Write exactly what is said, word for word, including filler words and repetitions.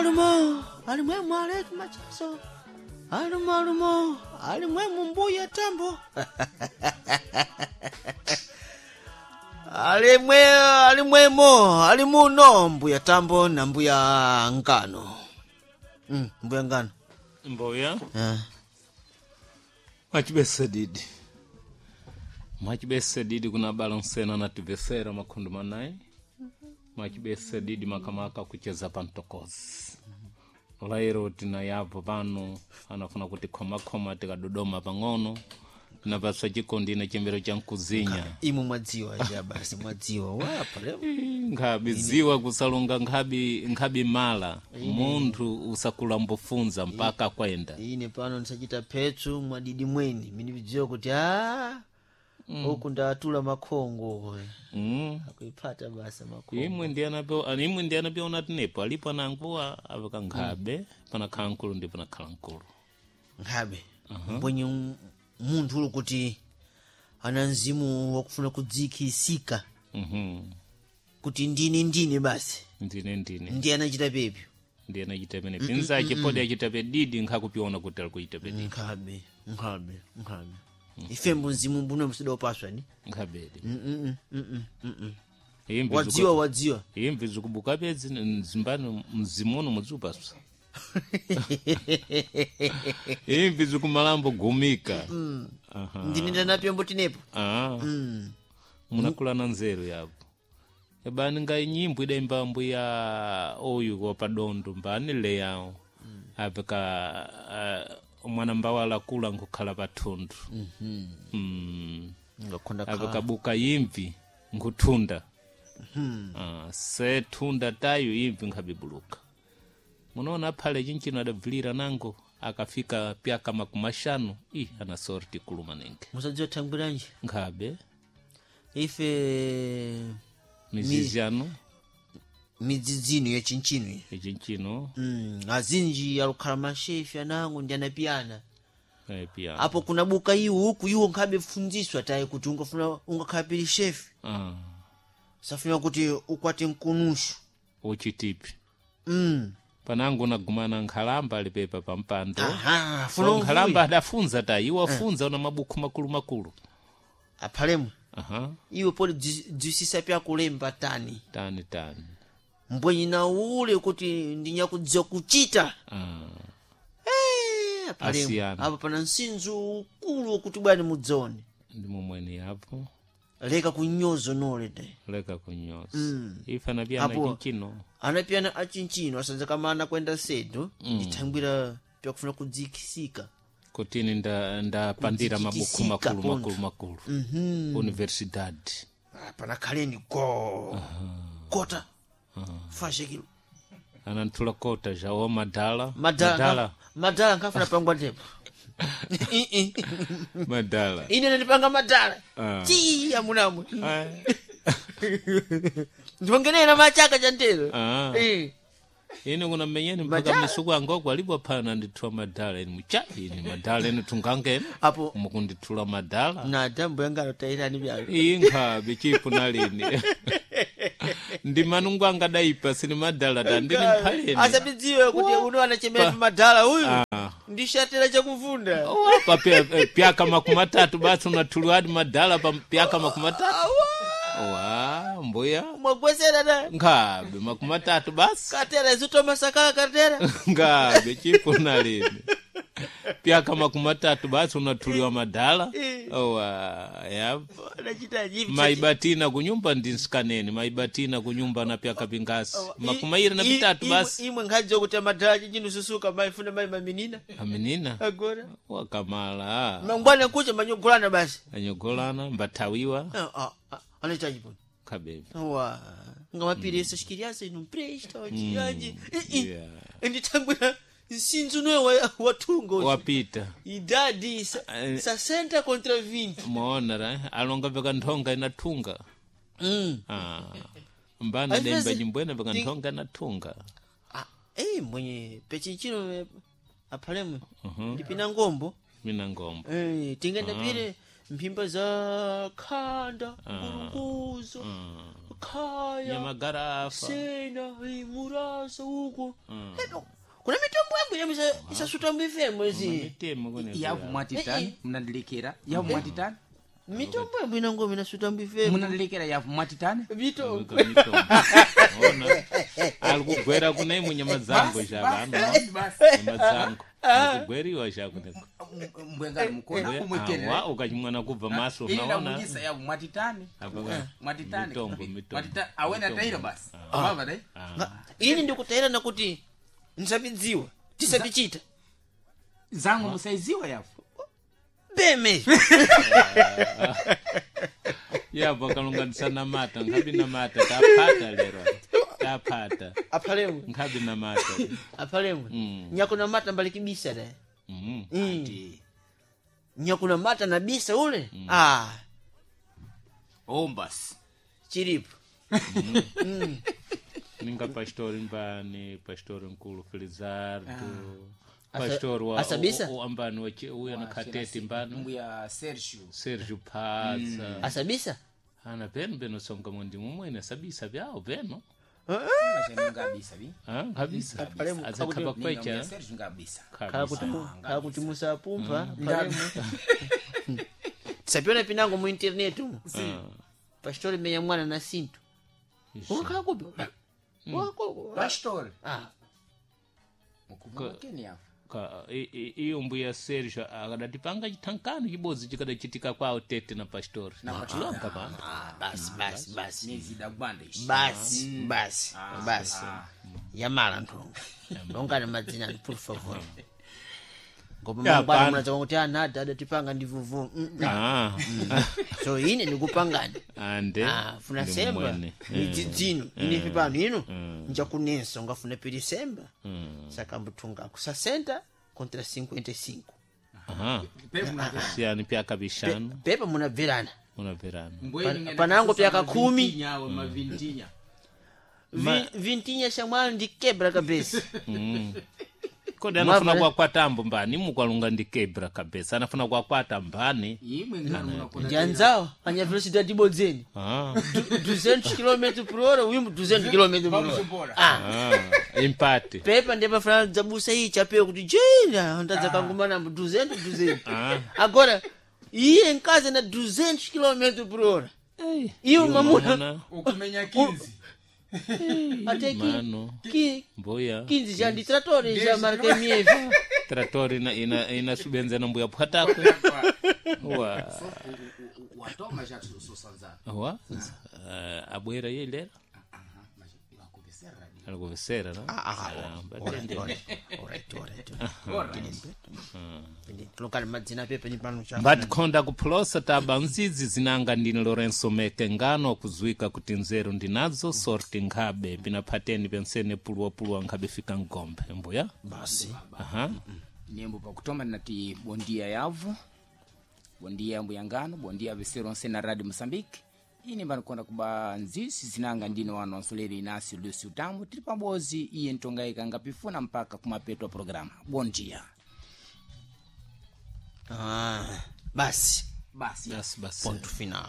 Alumo, alumo, alimwemu aleki machaso. Alumo, alumo, alimwemu mbuya tambo. Alimwe, alimwemo, alimuno mbuya tambo na mbuya ngano. Mm, mbuya ngano. Mboya Ah. mwachibese didi mwachibese didi kuna balansena na tivesera makhundu manayi mwachibese didi makamaka kucheza pantokozi lairo tina yapo pano anafuna kuti khomakhoma tikadodoma pang'ono tinapasa chikondi na chembero cha mkuzinya Imwe mwadziwa ja basi mwadziwa wapa leo. nkhabi ziwa kusalunga nkhabi nkhabi mala munthu usakula mbufunza mpaka kwenda Ine pano ndisachita phetsu mwadidi mweni minividziwa kuti a huku ndatula makhongo mm. akuiphata basa makhongo imwe ndiyanapo imwe ndiyanapo unatinepo alipo ananguwa aveka nkhabe panakhala nkulu ndi panakhala nkulu nkhabe mbwenye m- munthu uli kuti ana mzimu wakufuna kudzikhisika Mhm. kuti ndine ndine basi ndine ndine ndiye anachita pepyo ndiye nachita pene pinza achipodi achitape didi nkhakupiona kuti ali kuchitape didi nkhabe nkhabe nkhabe ifembo mzimu mbuno msidopaswa ni nkhabedi Mm, mm, mm, mm, mm, mm. imvi wadziwa wadziwa imvi zikubuka pedzi mzimbani mzimuno mudziupaswa imvi zikumalambo gumika Aha. ndine ndanapyombo tinepo Ah. munakulana nzeru yapo ebani nga nyimbo idaimba mbuya oyu wapadondo mbani leyawo apeka uh, mwana mbawala kula nkukhala pathundu mm. ngakhonda apekabuka imvi nkuthunda ah, se thunda tayo imvi nkhabibuluka munaona aphale chinchino adabvilira nango akafika pyaka makumi axanu ih ana sorti kuluma nenge musadziwa thangwiranji nkhabe ife mizizi yanu midzidzino ya chinchino iyi ichinchino mm, azinji alukhala mashefi anango ndi anapiyana eh, pia apo kunabuka iwo huku iwo nkhabe funziswa tayi kuti ungafuna ungakhala pili shefi ah, safuna kuti ukwate mkunushu uchitipi mm. panango nagumana nkhalamba alipepa pampando aha funa so nkhalamba umvuye adafunza tayi iwo afunza una mabuku makulu makulu aphalemwe aha iwe poli dzisisa pyakulemba tani tani tani mbwenyi na ule kuti ndinyakudziwa kuchita ah. Eh, aphalemwe Asiyana. apo pana msinzu ukulu kuti bwani mudzone ndi momweni yapo leka kunyozo nole de leka kunyoza mm. ife anapiyana Apo- chinchino anapiyana achinchino asanza kamana kwenda sedu mm. ndithangwira pyakufuna kudzikisika kutini nda ndapandira mabuku Kudzikisika makulu pontho. makulu makulu universidade Ah, panakhaleni go kota fashekilo ananthula kota jawo madala madala madala nkhafuna pangwa ndipo madala ine nandipanga madala Ah. ti amunamwe Ah. ndiongenera machaka cha ntero Ah. Eh. ine kuna menyeni mpaka Madala. misuku angoko alipo phana ndithula madala ine mucha ine madala ine tungangene apo mukundithula madala na dambo yangalo tairani byalo iyi nkhabe chipo nalini ndi manungu angadaipa sini madala tandini mphaleni asabidziwe kuti uno anachemera pa madala uyu Ah. ndishatera chakuvunda pa pya- pyaka makumi atatu basi unathuliwadi madala pa pyaka makumi atatu wa mbuya mwagwesera na nkhabe makumi atatu basi katera zitomasakala katera ngabe chipo nalini pyaka makumi atatu basi unathuliwa madala owa yapo anachita jivi maibatina kunyumba ndinsikaneni maibatina kunyumba na pyaka pingasi makumi airi na pitatu basi imwe nkhadziwa kuti madala chinchino susuka maifuna mai maminina aminina agora wakamala mangwana kucha manyogolana basi anyogolana mbathawiwa Ah, ah, ah, anaita chiponi khabevi wa ngamapirisa xikiriasa inu mpresta wachiyaji Yeah. ndithangwira nsinzu noyo wathunga uchi. wapita idadi sa- Eh. sessenta contra vinte mwaona ra alonga veka nthonga inathunga mm. ah. mbana Às demba vezes- nyimbwene veka Tem- nthonga inathunga ah, ei mwenye pechinchino eh, aphalemwe ndipina ngombo mina ngombo Eh, tingenda pire mphimba za khanda ngulunguzo Khaya Nyamagarafa. Sena eh, murasa uko. Edo, kuna mitombo yangu yamisa isasuta mbifemo ezi. Mitemo kune. Yavu mwatitani mnandilekera yavu mwatitani Mitombo yangu inango minasuta mbifemo. munandilekera yavu mwatitani Mitombo. Mitombo. Ona. Ali kugwera kune imwe nyama dzangu zvavano. Nyama dzangu. Kugweriwa zvakuneko. Mbwengani mukona umwekerera Awa ukachimwana kubva maso ini unaona. ndamujisa yavu mwatitani Apa ka- mwatitani Mitombo mitombo. Mwatitani. Awena tairo basi mava dai Nga- Ini ndikutaira nakuti nsabidziwa tisabichita. zangu musaiziwa yavu Beme. Yapo kalunganisa namata nkhabi namata taphata lero. Taphata. Aphalemwe. Nkhabi namata. Aphalemwe. Nyakuna mata mbali kibisa da. Mhm. Mm. Nyakuna mata na bisa ule. Ah, ombasi chiripo. Ninga pastori mbani, pastori nkulu Felizardo. Pastori wa Asabisa? u- u- ambani wachi- uya na khateti mbani. mbuya Sergio Sergio Pazza. Asabisa? Ana peno peno songa mundi mumwene sabisa vyawo peno. ngabisa bi Ah, kabisa. Apalemu, Azakhapa Ninga mbuya kwecha. Sergio ngabisa Khala kuti Kabisa. mu- khala kuti musapumpa aphalemwe. Tisapiona pinango mu internet umu. Pastori menya mwana na sinto. Wakhala kupi? Wakhala. pastor Ah, mukubwa keni yavu Ka- i- i- iyo mbuya Sergio akadatipanga chithankani chibodzi chikadachitika kwawo tete na pastori. Longa pano. ah, basi basi basi. nezida gwanda ishi Basi basi basi. Yamala nthongo. Longani madzina por favor. Ngoba Ya, mangwana pana. munadza kuti ana adatipanga ndi vuvu. Mm, mm. Ah. So ine ndikupangani. Ande. Ah, funa ndi semba mumwene. midzidzino inefe pano ino njakunensa ungafuna pili semba saka mbuthungako sessenta contra cinquenta e cinco. Aha. Siyani pyaka bishanu Pepa munabverana munabverana. Pan- panango pyaka khumi. nyawe mavintinya Vi- vintinya shamwali ndi kebra kabesa. Kodi anafuna Mwavale. kwakwata mbani mukwalunga ndi kebra kabisa anafuna kwakwata mbani. imwe ngano munakona ndi anzawo anya velocidade ibodzeni Ah. duzentos km por hora uyu duzentos km por hora. Pamuchimbora. Ah, Ah. Impate. pepa ndiye pafana dzabusa iyi chapewa kuti jina ndadzakangumana duzentos duzentos. Ah. Agora iye nkazi na duzentos km por hora iwe mamuna ukumenya kinzi até ki, Mano. ki, Mbuya. quinze já ndi tratores já marca M F. Trator ina ina inasubenza na mbuya phatakwe. Wa. watoma já sosanzana Wa. Eh, abwera ye lera. Alikuvesera na. Ah, batende. Lokali madzina pepa ni pano cha. Mbatikhonda kuphulosa taba nzizi zinanga ndine Lorenzo Meke ngano kuzwika kuti nzeru ndinazo sorti nkhabe pinaphateni pensene puluwapuluwa nkhabe fika ngombe mbuya. Basi. Aha. Nembo pakutoma ndinati bondia yavu bondia mbuya ngano bondia vesero onse na radio Moçambique ine mbanikonda kuba nzisi zinanga ndine wanu wansoleri Inácio Lúcio Tambo tili pamodzi iye ntongaika ngapifuna mpaka kumapeto a programa bondia. Ah, basi. Basi. Basi basi. Ponto final.